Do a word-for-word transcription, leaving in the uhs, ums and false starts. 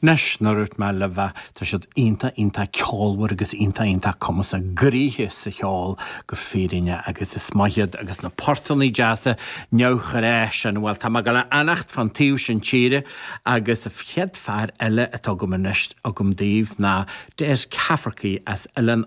Anois mar a dúirt mé libh tá siad iontach iontach ceolmhar agus iontach iontach cumasach gnoitheach sa cheol go fírinne agus is maith iad agus na portanna deasa neamhghnách sin well tá mé ag gabháil a fhanacht fan taobh sin tíre agus chéad fear eile atá agam anois agam daoibh ná Des Cafferkey as Oileán